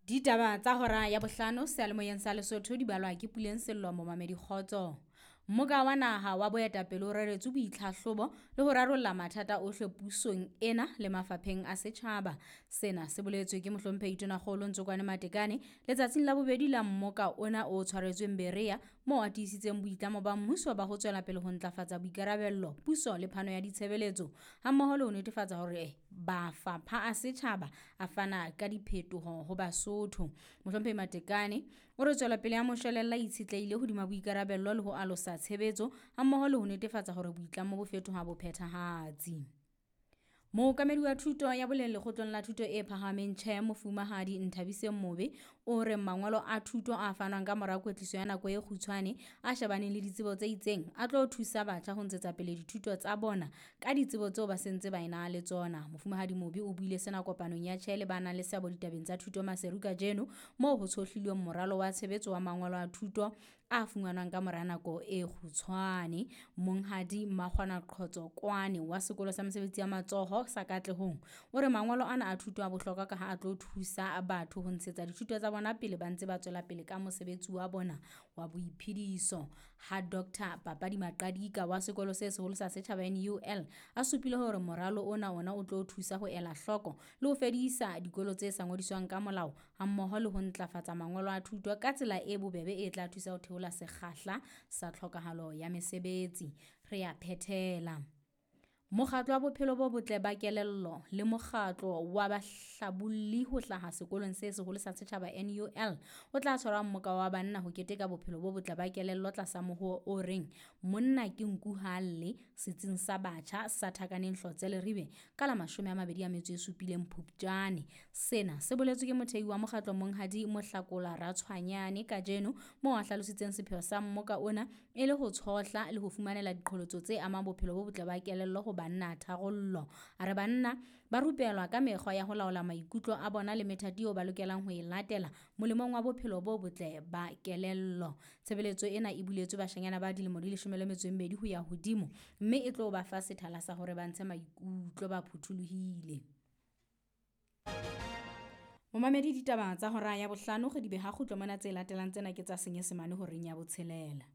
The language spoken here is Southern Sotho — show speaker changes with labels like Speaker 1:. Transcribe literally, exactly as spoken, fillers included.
Speaker 1: Ditaba tsa hora ya bohlano seyalemoyeng sa Lesotho di balwa ke Puleng Sello momamedi kgotso. Mmoka wa naha wa boetapele o reretswe boitlhahlobo le ho rarolla mathata ohle pusong ena le mafapheng a setjhaba. Sena se boletswe ke mohlomphehi Tonakgolo Ntsokoane Matekane letsatsing la bobedi la mmoka ona o tshwaretsweng Berea, moo a tiisitseng boitlamo ba mmuso ba ho tswela pele ho ntlafatsa boikarabello, puso le phano ya ditshebeletso, hammoho le ho netefatsa hore mafapha a setjhaba a fana ka diphetoho ho Basotho. Mohlomphehi Matekane o re tswelopele ya moshwelella e itshetlehile hodima boikarabello le ho alosa tshebetso, hammoho le ho netefatsa hore boitlamo bo fetoha bophethahatsi. Mookamedi wa thuto ya boleng lekgotleng la thuto e phahameng Tjhe Mofumahadi Nthabiseng Mobe o re mangolo a thuto a fanwang ka mora kwetliso ya nako e kgutshwane a shebaneng le ditsebo tse itseng a tlo thusa batjha ho ntshetsa pele dithuto tsa bona ka ditsebo tseo ba sentse ba ena le tsona. Mofumahadi Mobe o buile sena kopanong ya Tjhe le ba nang le seabo ditabeng tsa thuto Maseru kajeno, moo ho tshohlilweng moralo wa tshebetso wa mangolo a thuto a fumanwang ka mora nako e kgutshwane. Monghadi Makgwana Qhotso Kwane wa sekolo sa mesebetsi ya matsoho sa Katlehong o re mangolo ana a thuto a bohlokwa ka ha a tlo thusa batho ho ntshetsa dithuto tsa bona pele ba ntse ba tswela pele ka mosebetsi wa bona wa boiphediso. Ha Doctor Papadi Maqadika wa sekolo se seholo sa setjhaba N U L a supile hore moralo ona ona o tlo thusa ho ela hloko le ho fedisa dikolo tse sa ngodiswang ka molao, hammoho le ho ntlafatsa mangolo a thuto ka tsela e bobebe e tla thusa ho theola sekgahla sa tlhokahalo ya mesebetsi. Re a phethela. Mokgatlo wa bophelo bo botle ba kelello le mokgatlo wa bahlabolli ho hlaha sekolong se seholo sa setjhaba N U L o tla tshwara mmoka wa banna ho keteka bophelo bo botle ba kelello tlasa mohoo o reng monna ke nku ha lle setsing sa batjha sa Thakaneng Hlotse Leribe ka la mashome a mabedi a metso e supileng Phupjane. Sena se boletswe ke mothehi wa mokgatlo Monghadi Mohlakola Ratshwanyane kajeno, moo a hlalositseng sepheo sa mmoka ona e le ho tshohla le ho fumanela diqholotso tse amang bophelo bo botle ba kelello ho banna tharollo. A re banna ba rupelwa ka mekgwa ya ho laola maikutlo a bona le methati eo ba lokelang ho e latela molemong wa bophelo bo botle ba kelello. Tshebeletso ena e buletswe bashanyana ba dilemo di leshome le metso e mmedi ho ya hodimo, mme e tlo ba fa sethala sa hore ba ntshe maikutlo ba phuthulohile. Momamedi, ditaba tsa hora ya bohlano re di beha kgutlo mona, tse latelang tsena ke tsa Senyesemane horeng ya botshelela.